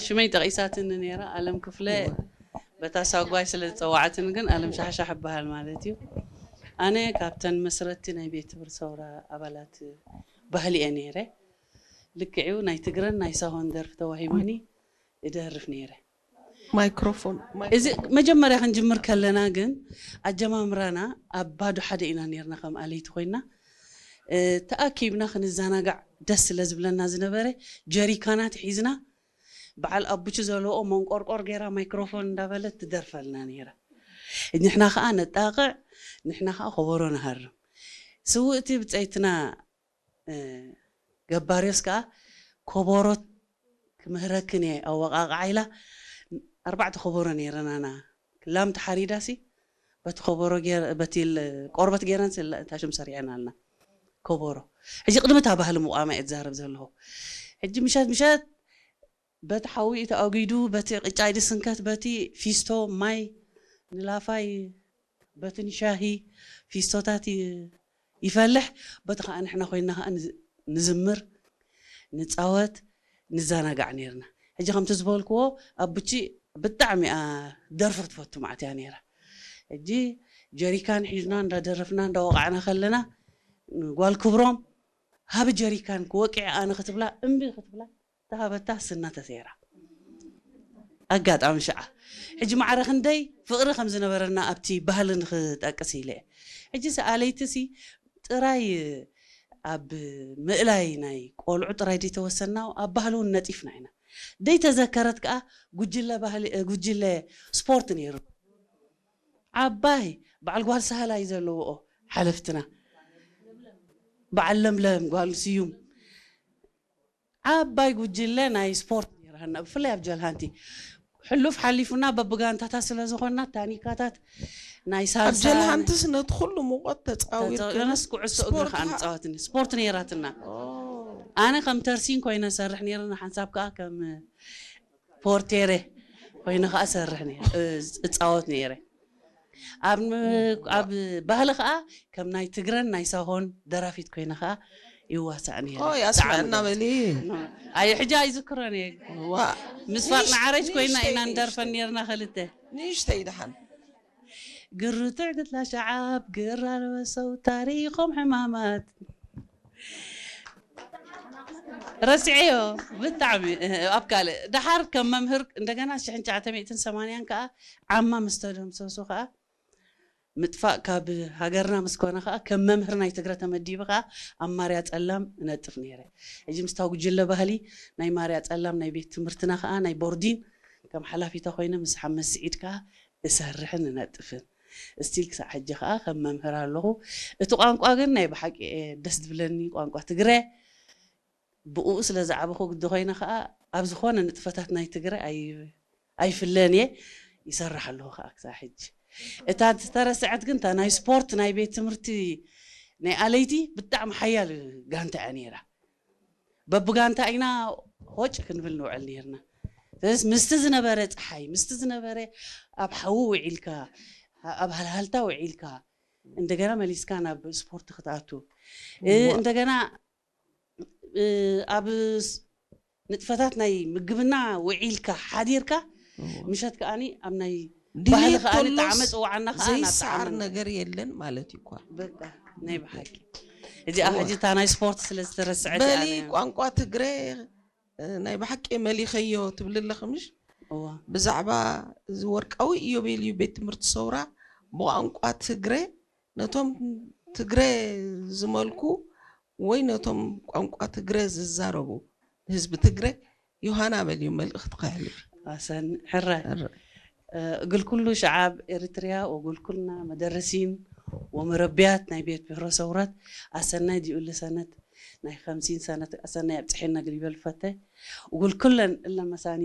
ሽመይ ጠቒሳትኒ ነይራ ኣለም ክፍለ። በታ ሳጓይ ስለ ዝጸዋዕትኒ ግን ኣለም ሻሕሻሕ እበሃል ማለት እዩ። ኣነ ካብተን መስረትቲ ናይ ቤት ትምህርቲ ሰውራ ኣባላት ባህሊ እየ ነይረ። ልክዕዩ ናይ ትግረን ናይ ሳሆን ደርፊ ተዋሂቡኒ እደርፍ ነይረ። ማይክሮፎን እዚ መጀመርያ ክንጅምር ከለና ግን ኣጀማምራና ኣብ ባዶ ሓደ ኢና ነርና ከም ኣለይቲ ኮይና ተኣኪብና ክንዘናጋዕ ደስ ስለ ዝብለና ዝነበረ ጀሪካናት ሒዝና በዓል ኣቡቹ ዘለዎ መንቆርቆር ገይራ ማይክሮፎን እንዳበለት ትደርፈልና ነይራ። ንሕና ከዓ ነጣቕዕ፣ ንሕና ከዓ ከበሮ ንሃርም። ስውእቲ ብፀይትና ገባርዮስ ከዓ ከበሮ ክምህረክን እየ ኣወቃቅዓ ኢላ ኣርባዕተ ከበሮ ነይረናና ክላም ተሓሪዳሲ በቲ ከበሮ በቲ ቆርበት ገይረን ታሽም ሰሪዐን ኣልና ከበሮ። ሕጂ ቅድሚ እታ ባህሊ ምቋማ እየ ዝዛረብ ዘለኹ። ሕጂ ምሸት ምሸት በቲ ሓዊ ተኣጒዱ በቲ ቅጫይ ድስንከት በቲ ፊስቶ ማይ ንላፋይ በቲ ንሻሂ ፊስቶታት ይፈልሕ። በቲ ከዓ ንሕና ኮይና ከዓ ንዝምር ንፃወት ንዘናጋዕ ነርና። ሕጂ ከምቲ ዝበልክዎ ኣቡቺ ብጣዕሚ እያ ደርፍር ትፈቱ ማዕት እያ ነይራ። ሕጂ ጀሪካን ሒዝና እንዳደረፍና እንዳወቃዕና ከለና ጓል ክብሮም ሃቢ ጀሪካን ክወቅዕ ኣነ ክትብላ እምቢ ክትብላ ተሃበታ ስና ተሰይራ። ኣጋጣሚ ሽዓ ሕጂ ማዕረ ክንደይ ፍቕሪ ከም ዝነበረና ኣብቲ ባህሊ ንክጠቅስ ኢለ እየ። ሕጂ ሰኣለይቲ ሲ ጥራይ ኣብ ምእላይ ናይ ቆልዑ ጥራይ ዘይተወሰና ኣብ ባህሊ እውን ነጢፍና ኢና። ዘይተዘከረት ከዓ ጉጅለ ባህሊ ጉጅለ ስፖርት ነይሩ። ዓባይ በዓል ጓል ሳህላይ ዘለዎኦ ሓለፍትና በዓል ለምለም ጓል ስዩም ዓባይ ጉጅለ ናይ ስፖርት ነይራና ብፍላይ ኣብ ጀልሃንቲ ሕሉፍ ሓሊፉና በብጋንታታት ስለ ዝኾንና ታኒካታት ናይ ኣብ ጀልሃንትስ ነቲ ኩሉ ሙቐት ተፃዊርክንስ ኩዕሶ እግሪ ከዓ ንፃወት ስፖርት ነይራትና። ኣነ ከም ተርሲን ኮይነ ሰርሕ ነይረ ሓንሳብ ከዓ ከም ፖርቴሬ ኮይነ ከዓ ሰርሕ እፃወት ነይረ። ኣብ ባህሊ ከዓ ከም ናይ ትግረን ናይ ሳሆን ደራፊት ኮይነ ከዓ ይዋሳእ ነይረ። ኣስምዐና በሊ። ኣይ ሕጂ ኣይዝክሮን እየ። ምስ ፋጥና ዓረጅ ኮይና ኢና ንደርፈን ነርና ክልተ። ንእሽተይ ደሓን ግርትዕ ግትላ ሸዓብ ግር ኣልበሰው ታሪኾም ሕማማት ረስዐዮ ብጣዕሚ ኣብ ካልእ ደሓር ከም መምህር እንደገና ሽሕን ትሽዓተ ሚእትን ሰማንያን ከዓ ዓማ ምስ ተደምሰሱ ከዓ ምጥፋእ ካብ ሃገርና ምስ ኮነ ከዓ ከም መምህር ናይ ትግረ ተመዲቢ ከዓ ኣብ ማርያ ፀላም እነጥፍ ነይረ። ሕጂ ምስታ ጉጅለ ባህሊ ናይ ማርያ ፀላም ናይ ቤት ትምህርትና ከዓ ናይ ቦርዲን ከም ሓላፊታ ኮይነ ምስ ሓመድ ስዒድ ከዓ እሰርሕን እነጥፍን እስቲል ክሳዕ ሕጂ ከዓ ከም መምህር ኣለኹ። እቲ ቋንቋ ግን ናይ ብሓቂ ደስ ዝብለኒ ቋንቋ ትግረ ብኡ ስለ ዝዓበኹ ግዲ ኮይነ ከዓ ኣብ ዝኾነ ንጥፈታት ናይ ትግረ ኣይፍለን እየ ይሰርሕ ኣለኹ ከዓ ክሳብ ሕጂ። እታ ዝተረስዐት ግን እታ ናይ ስፖርት ናይ ቤት ትምህርቲ ናይ ኣለይቲ ብጣዕሚ ሓያል ጋንታ እያ ነይራ። በብጋንታ ኢና ሆጭ ክንብል ንውዕል ነርና። ስለዚ ምስቲ ዝነበረ ፀሓይ ምስቲ ዝነበረ ኣብ ሓዊ ውዒልካ ኣብ ሃልሃልታ ውዒልካ እንደገና መሊስካ ናብ ስፖርት ክትኣቱ እንደገና ኣብ ንጥፈታት ናይ ምግብና ውዒልካ ሓዲርካ ምሸት ከዓኒ ኣብ ናይ ባህሊ ከዓኒ ጣዕመ ፅዋዓና ከዓ ዘይሰዓር ነገር የለን ማለት እዩ እኳ። በቃ ናይ ብሓቂ እዚኣ ሕጂ እታ ናይ ስፖርት ስለ ዝተረስዐት በሊ ቋንቋ ትግረ ናይ ብሓቂ መሊኸዮ ትብሊ ኣለኺ ምሽ? ብዛዕባ እዚ ወርቃዊ ኢዮቤልዩ ቤት ትምህርቲ ሰውራ ብቋንቋ ትግረ ነቶም ትግረ ዝመልኩ ወይ ነቶም ቋንቋ ትግረ ዝዛረቡ ህዝቢ ትግረ ዮሃና በልዩ መልእኽቲ ከሕልፍ። ኣሰን ሕራይ እግል ኩሉ ሸዓብ ኤርትርያ ወእግል ኩልና መደረሲን ወመረቢያት ናይ ቤት ብሕሮ ሰውረት ኣሰናይ ዲኡሊ ሰነት ናይ ከምሲን ሰነት ኣሰናይ ኣብፅሐና ግል ይበል ፈተ እግል ኩለን እለ መሳኒ